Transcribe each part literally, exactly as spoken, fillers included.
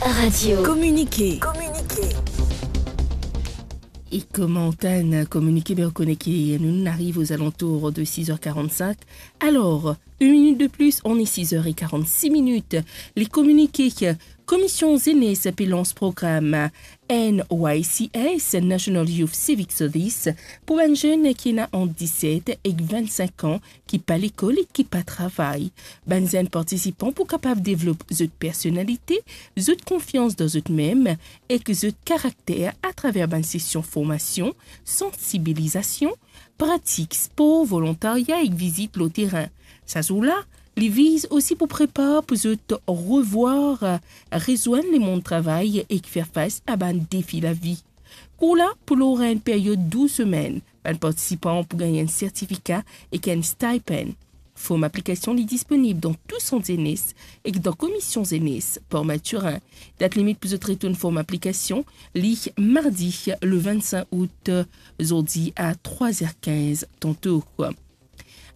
Radio. Kominike. E kouma antann kominike, be, ou kone ki nou ariv ozalantour de sis er karant-sink. Alor, une minute de plus, on est six heures et quarante-six minutes. Les communiqués, Komision Zenes pe lans program N Y C S, National Youth Civic Service, pou bann zenn ki ena ant diset ek vennsenk an, ki pa lekol ek ki pa travay. Bann zenn partisipan pou kapav devlop zot personalite, zot konfians dan zot mem ek zot karakter atraver bann sesion formasion, sansibilizasion, pratik spor, volontarya ek vizit lor terin. Sa zour la, li viz osi pou prepar pou zot revwar, rezwenn lemond travay ek fer fas a bann defi lavi. Kour la pou lor enn period dou semenn. Bann partisipan pou gagn enn sertifika ek enn stipend. Form aplikasion li disponib dan tou sant zenes ek dan Komision Zenes Port Mathurin. Dat limit pou zot retourn form aplikasion, li mardi le vennsenk out, zordi a trwa er kinz tanto.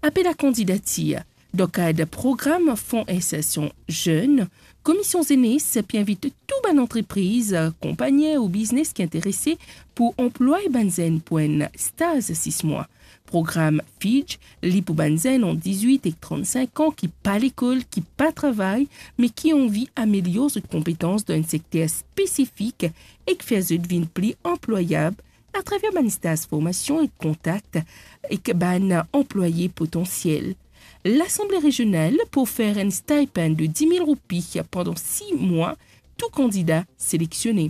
Apel a kandidatir. Dan kad program Fon Insersion Zenn, Komision Zenes pe invit tou bann antrepriz, konpagni ou biznes ki interese pou anplway bann zenn pou enn staz sis mwa. Program Fidj, li pou bann zenn ant dizwit ek trannsink an ki pa lekol, ki pa travay, me ki anvi amelior zot konpetans dan enn sekter spesifik ek fer zot vinn pli anplwayab atraver bann staz formasion ek kontak ek bann anplwaye potansiel. Lasanble Rezional pou ofer enn stipend de dis mil roupi pandan sis mwa tou kandida selektione.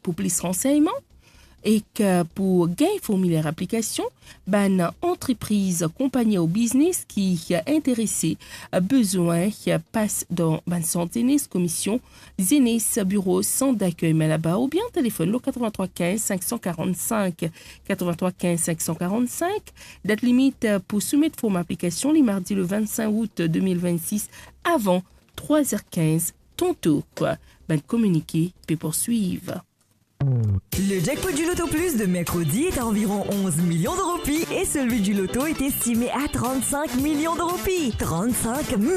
Pou plis ransegnman ek pou gagn formiler aplikasion, bann antrepriz, konpagni ou biznes ki interese, bezwin pas dan bann sant zenes Komision Zenes, biro sant dakey Malaba, oubien telefonn lor katrevin-trwa kinz sink san karann-sink, katrevin-trwa kinz sink san karann-sink. Dat limit pou soumet form aplikasion, li mardi le vennsenk out de mil vennsis, avan trwa er kinz tanto. Bann kominike pe pou swiv. Le jackpot du Loto Plus de mercredi est à environ onze millions de roupies et celui du loto est estimé à trente-cinq millions de roupies. Trente-cinq millions.